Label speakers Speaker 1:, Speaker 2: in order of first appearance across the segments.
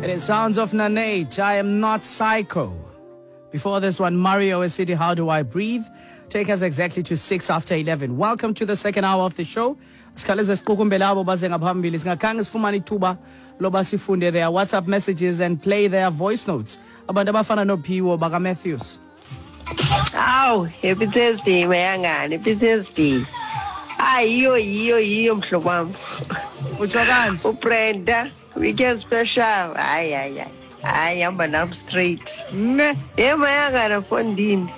Speaker 1: It is Sounds of Nanate, I Am Not Psycho. Before this one, Mario City, How Do I Breathe? Take us exactly to 6 after 11. Welcome to the second hour of the show. Sikhaleze siqukumbele abo baze ngaphambili singakhange sifumane ithuba loba sifunde their WhatsApp messages and play their voice notes. Abantu abafana noPhiwo bakaMatthews.
Speaker 2: Awu, happy Thursday mayangani, happy Thursday. Hayi yiyo yiyo yiyo mhlobo wam.
Speaker 1: Utsho kanje.
Speaker 2: UBrenda, weekend special. Hayi hayi hayi. Hayi hamba nam straight.
Speaker 1: Ne.
Speaker 2: Ye mayangana fondini.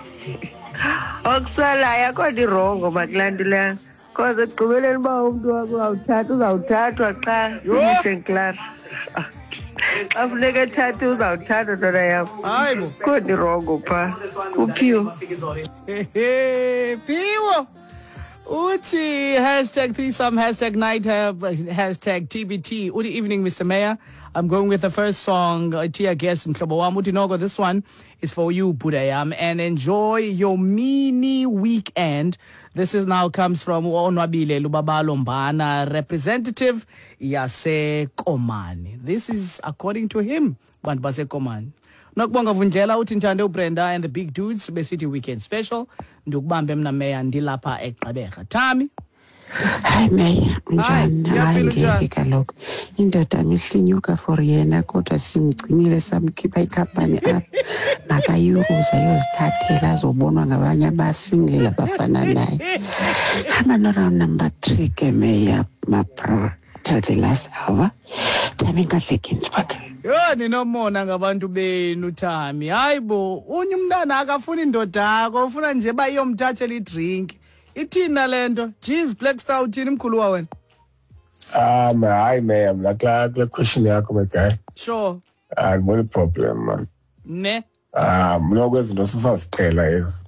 Speaker 2: Okusalayo akho nto irongo makulaa nto leya. Cause ekugqibeleni uba umntu wakho uzawuthatha uzawuthathwa qha.
Speaker 1: Yho!
Speaker 2: Finish and klaar. Xa funeka ethathe uzawuthathwa ntwana yam.
Speaker 1: Hayi bo.
Speaker 2: Kho nto irongo phaa. Kuphiwo.
Speaker 1: Phiwo. Uthi hashtag threesome, hashtag night, hashtag TBT. Uthi evening, Mr. Mayor. I'm going with the first song, Tia Guest Mhlobo wam. Uthi noko, this one is for you, Budayam. And enjoy your mini weekend. This is now comes from Onwabile Lubabalo Mbana, representative yaseKomani. This is according to him, bantu baseKomani. Nokubonga Vundlela uthi ndithande uBrenda and the big dudes besithi weekend special. Ndikubambe mna meya ndilapha eGqeberha. Thami.
Speaker 3: Hayi meya, unjani? Hayi
Speaker 1: Ngiyaphila, unjani?
Speaker 3: Ngeke kaloku indoda mihlinyuka for yena kodwa simgcinile samkhipha ikhampani apha makayuruze ayozithathela azobonwa ngabanye abasingle abafana naye. Hamba no-round number 3 ke meya, mabro, till the last hour. Thami Ngadle-Ginsburg.
Speaker 1: Yho, ninomona ngabantu benu Thami. Hayi bo, unye umntana akafuni indoda yakho, ufuna nje uba iyomthathela idrinki. Ithini na le nto? Jeez, Black Star uthini mkhuluwa wena?
Speaker 4: Ah, man, hayi man, mna kula question yakho my guy.
Speaker 1: Sure.
Speaker 4: Andiboni problem man.
Speaker 1: Ne.
Speaker 4: Ah, mna kwezinto sisaziqhela ezi.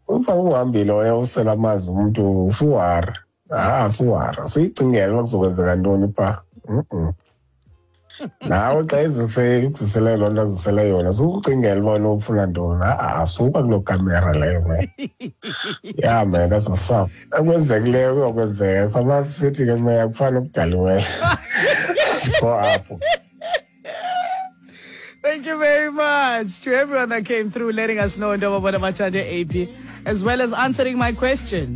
Speaker 4: Ufa uhambile oye usela amanzi umntu usuwara. Ah, suwara. Suyicingela uba kuzokwenzeka ntoni phaa. Nawe xa izisele loo nto azisele yona, sukucingela uba unofuna ntoni. Ah, suka kuloo kamera leyo, man. Yeah, man, that's what's up. Okwenzekileyo kuyokwenzeka. Sama sithi ke meya kufana okudaliweyo. Sikho apho.
Speaker 1: Thank you very much to everyone that came through letting us know Ndoba Bona Machande AP, as well as answering my question.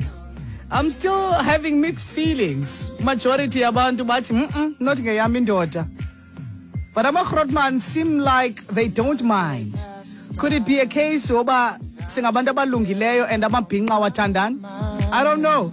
Speaker 1: I'm still having mixed feelings. Majority abantu bathi, not ngeyam indoda. But ama-Grootman seem like they don't mind. Could it be a case yoba singabantu abalungileyo and amabhinqa wathandani? I don't know.